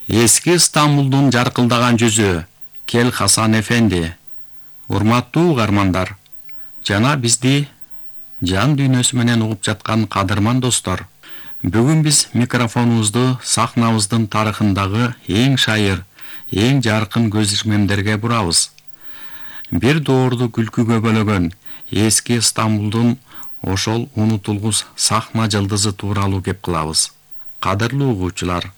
Эски Стамбулдун жаркылдаган жүзү Кел Хасан эфенди. Урматтуу угармандар, жана бизди жан дүйнөсү менен угуп жаткан кадырман достор. Бүгүн биз микрофонубузду сахнабыздын тарыхындагы эң шайыр, эң жаркын көз ирмемдерге бурабыз. Бир доорду күлкүгө бөлөгөн эски Стамбулдун ошол унутулгус сахна жылдызы тууралуу кеп кылабыз. Кадырлуу угуучулар,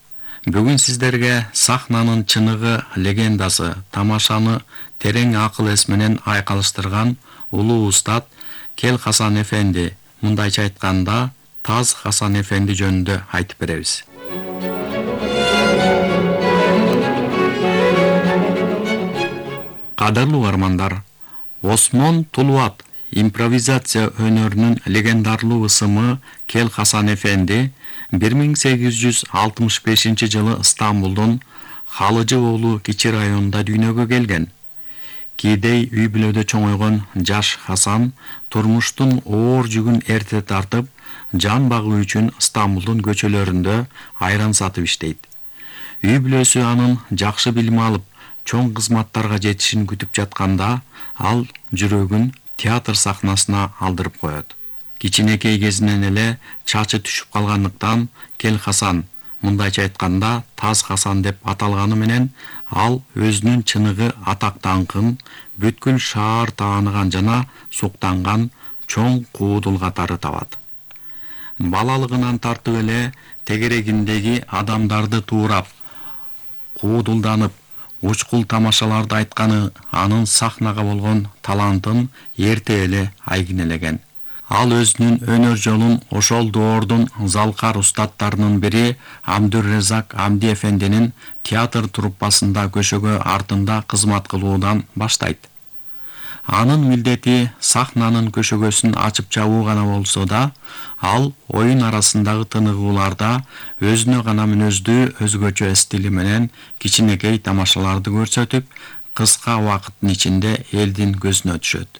бүгүн сиздерге сахнанын чыныгы легендасы, тамашаны терең акыл эс менен айкалыштырган улуу устат Кел Хасан эфенди, мындайча айтканда Таз Хасан эфенди жөнүндө айтып беребиз. Кадырлуу угармандар, Осмон Тулуат импровизация өнөрүнүн легендарлуу ысымы Кел Хасан эфенди 1865 жылы Стамбулдун Халыжы уулу кичи районунда дүйнөгө келген. Кийдей үй бүлөдө чоңойгон жаш Хасан турмуштун оор жүгүн эрте тартып, жан багуу үчүн Стамбулдун көчөлөрүндө айран сатып иштейт. Үй бүлөсү анын жакшы билим алып, чоң кызматтарга жетишин күтүп жатканда, ал жүрөгүн театр сахнасына алдырып коет. Кичинекей кезинен эле чачы түшүп калгандыктан Кел Хасан, мындайча айтканда Таз Хасан деп аталганы менен, ал өзүнүн чыныгы атак даңкын бүткүл шаар тааныган жана суктанган чоң куудул катары табат. Балалыгынан тартып эле тегерегиндеги адамдарды туурап, куудулданып, учкул тамашаларды айтканы анын сахнага болгон талантын эрте эле айгинелеген. Ал өзүнүн өнөр жолун ошол доордун залкар устаттарынын бири Абдуррезак Амди эфендинин театр труппасында көшөгө артында кызмат кылуудан баштайт. Анын милдети сахнанын көшөгөсүн ачып жабуу гана болсо да, ал оюн арасындагы тыныгууларда өзүнө гана мүнөздүү өзгөчө стили менен кичинекей тамашаларды көрсөтүп, кыска убакыттын ичинде элдин көзүнө түшөт.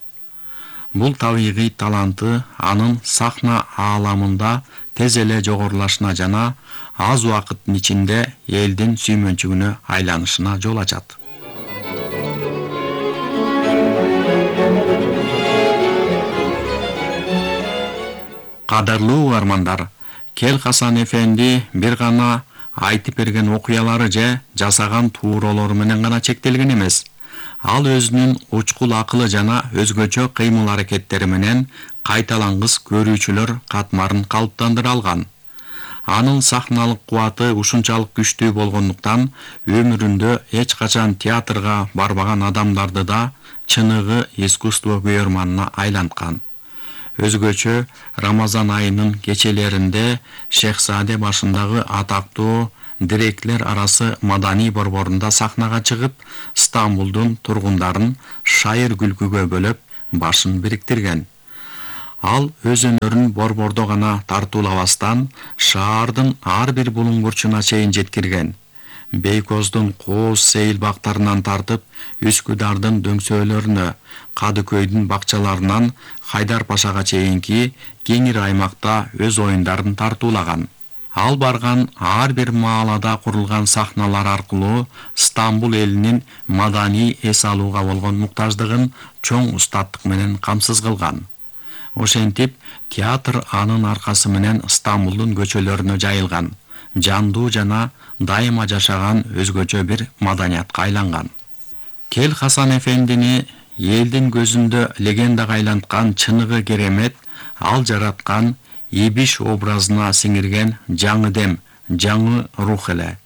Бул табигый таланты анын сахна ааламында тез эле жогорулашына жана аз убакыттын ичинде элдин сүймөнчүгүнө айланышына жол ачат. Кадырлуу угармандар, Кел Хасан эфенди бир гана айтып берген окуялары же жасаган тууралары менен гана чектелген эмес. Ал өзүнүн учкул акылы жана өзгөчө кыймыл-аракеттери менен кайталангыс көрүүчүлөр катмарын калыптандыра алган. Анын сахналык кубаты ушунчалык күчтүү болгондуктан өмүрүндө эч качан театрга барбаган адамдарды да чыныгы искусство көрөрманына айланткан. Өзгөчө Рамазан айынын кечелеринде Шехзаде башындагы атактуу диреклер арасы маданий борборунда сахнага чыгып, Стамбулдун тургундарын шайыр күлкүгө бөлөп, башын бириктирген. Ал өз өнөрүн борбордо гана тартуулабастан, шаардын ар бир булуң бурчуна чейин жеткирген. Бейкоздун Кооз Сейил бактарынан тартып, Үскүдардын дөңсөөлөрүнө, Кадыкөйдүн бакчаларынан Хайдар Пашага чейинки кеңир аймакта өз оюндарын тартуулаган. Ал барган ар бир маалада курулган сахналар аркылуу Стамбул элинин маданий эс алууга болгон муктаждыгын чоң устаттык менен камсыз кылган. Ошентип, театр анын аркасы менен Стамбулдун көчөлөрүнө жайылган, жандуу жана дайыма жашаган өзгөчө бир маданиятка айланган. Кел Хасан эфендини элдин көзүндө легендага айланткан чыныгы керемет ал жараткан Ибиш образына сиңирген жаңы дем, жаңы рух эле.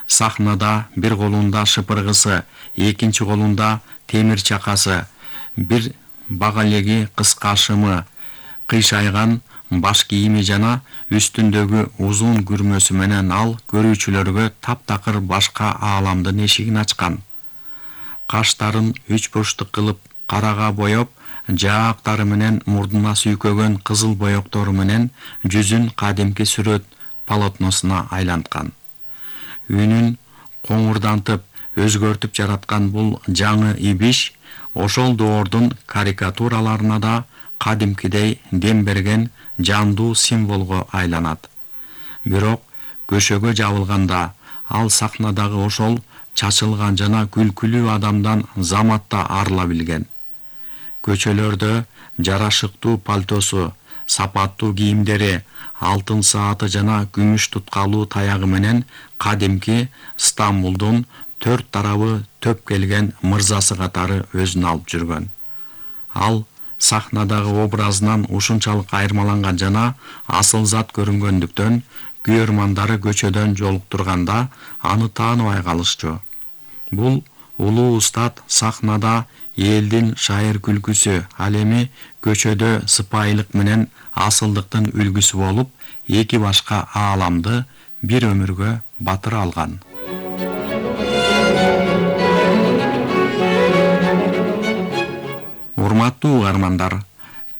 Сахнада бир колунда шыпыргысы, экинчи колунда темир чакасы, бир багалеги кыска шымы, кыйшайган баш кийими жана үстүндөгү узун күрмөсү менен ал көрүүчүлөргө таптакыр башка ааламдын эшигин ачкан. Каштарын үч бурчтук кылып карага боеп, жаактары менен мурдуна сүйкөгөн кызыл боектору менен жүзүн кадимки сүрөт полотносуна айланткан. Үнүн коңурдантып, өзгөртүп жараткан бул жаңы Ибиш ошол доордун карикатураларына да кадимкидей дем берген жандуу символго айланат. Бирок көшөгө жабылганда Ал сахнадагы ошол чачылган жана күлкүлүү адамдан заматта арыла билген. Көчөлөрдө жарашыктуу пальтосу, сапаттуу кийимдери, алтын сааты жана күмүш туткалуу таягы менен кадимки Стамбулдун 4 тарабы төп келген мырзасы катары өзүн алып жүргөн. Ал сахнадагы образынан ушунчалык айырмаланган жана асыл зат көрүнгөндүктөн күйөрмандары көчөдөн жолуктурганда аны тааныбай калышчу. Бул улуу устат сахнада элдин шайыр күлкүсү, ал эми көчөдө сыпайылык менен асылдыктын үлгүсү болуп, эки башка ааламды бир өмүргө батыра алган. Урматтуу угармандар,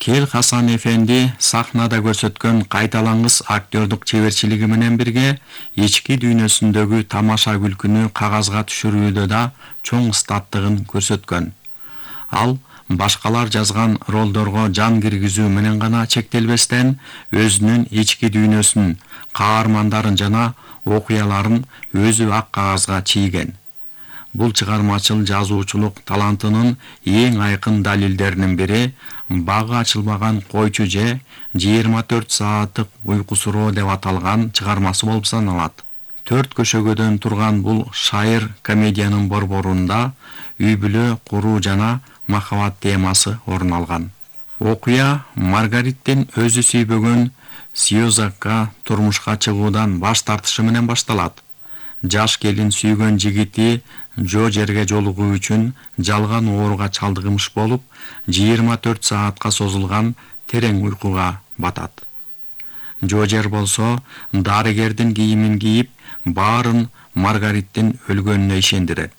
Кел Хасан эфенди сахнада көрсөткөн кайталангыс актёрдук чеберчилиги менен бирге ички дүйнөсүндөгү тамаша күлкүнү кагазга түшүрүүдө да чоң ыстаттыгын көрсөткөн. Ал башкалар жазган ролдорго жан киргизүү менен гана чектелбестен, өзүнүн ички дүйнөсүн, каармандарын жана окуяларын өзү ак кагазга чийген. Бул чыгармачыл жазуучулук талантынын эң айкын далилдеринин бири багы ачылбаган койчу же 24 сааттык уйкусуроо деп аталган чыгармасы болуп саналат. 4 көшөгөдөн турган бул шайыр комедиянын борборунда үй бүлө куруу жана махабат темасы орун алган. Окуя Маргариттин өзү сүйбөгөн Сьюзакка турмушка чыгуудан баш тартышы менен башталат. Жаш келин сүйгөн жигити Джожерге жолугуу үчүн жалган ооруга чалдыгымыш болуп, 24 саатка созулган терең уйкуга батат. Джожер болсо дарыгердин кийимин кийип, баарын Маргариттин өлгөнүнө ишендирет.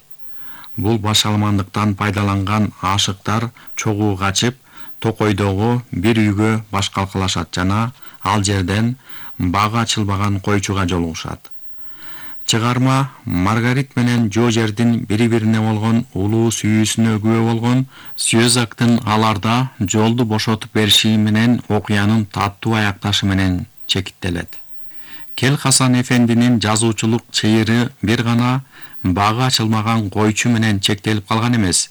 Бул башаламандыктан пайдаланган ашыктар чогуу качып, токойдогу бир үйгө баш калкалашат жана ал жерден багы ачылбаган койчуга жолугушат. Чыгарма Маргарит менен Джожердин бири-бирине болгон улуу сүйүүсүнө күбө болгон Сьюзактын аларда жолду бошотуп бериши менен окуянын таттуу аякташы менен чекиттелет. Кел Хасан эфендинин жазуучулук чыйыры бир гана багы ачылмаган койчу менен чектелип калган эмес.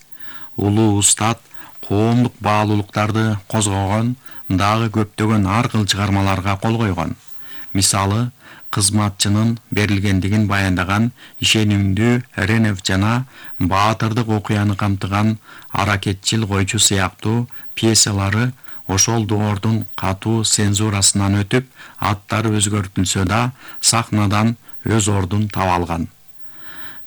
Улуу устат коомдук баалуулуктарды козгогон дагы көптөгөн ар кыл чыгармаларга кол койгон. Мисалы, кызматчынын берилгендигин баяндаган ишенимдүү Ренев жана баатырдык окуяны камтыган Аракетчил койчу сыяктуу пьесалары ошол доордун катуу цензурасынан өтүп, аттары өзгөртүлсө да сахнадан өз ордун таба алган.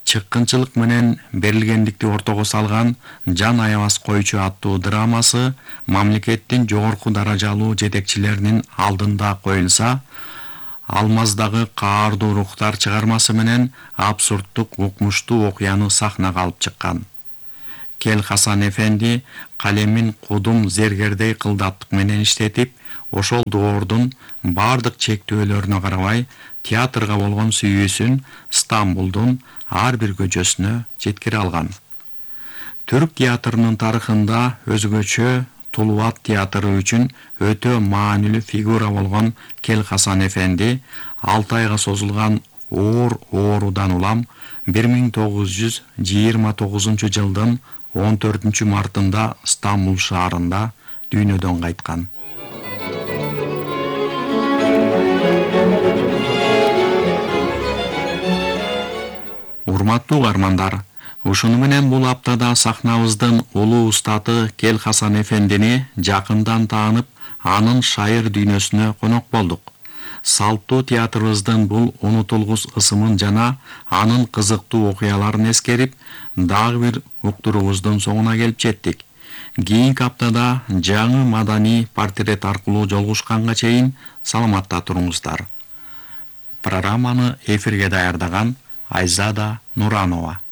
Чыккынчылык менен берилгендикти ортого салган Жан аябас койчу аттуу драмасы мамлекеттин жогорку даражалуу жетекчилеринин алдында коюлса, Алмаздагы каардуу рухтар чыгармасы менен абсурдтук укмуштуу окуяны сахнага алып чыккан. Кел Хасан эфенди калемин кудум зергердей кылдаттык менен иштетип, ошол доордун бардык чектөөлөрүнө карабай театрга болгон сүйүүсүн Стамбулдун ар бир көчөсүнө жеткире алган. Түрк театрынын тарыхында өзгөчө Тулуат театры үчүн өтө маанилүү фигура болгон Кел Хасан эфенди 6 айга созулган оор оорудан улам 1929 жылдын 14 мартында Стамбул шаарында дүйнөдөн кайткан. Урматтуу угармандар, ушуну менен бул аптада сахнабыздын улуу устаты Кел Хасан эфендини жакындан таанып, анын шайыр дүйнөсүнө конок болдук. Салттуу театрыбыздын бул унутулгус ысымын жана анын кызыктуу окуяларын эскерип, дагы бир уктуруубуздун соңуна келип жеттик. Кийинки аптада жаңы маданий портрет аркылуу жолугушканга чейин саламатта туруңуздар. Программаны эфирге даярдаган Айзада Нуранова.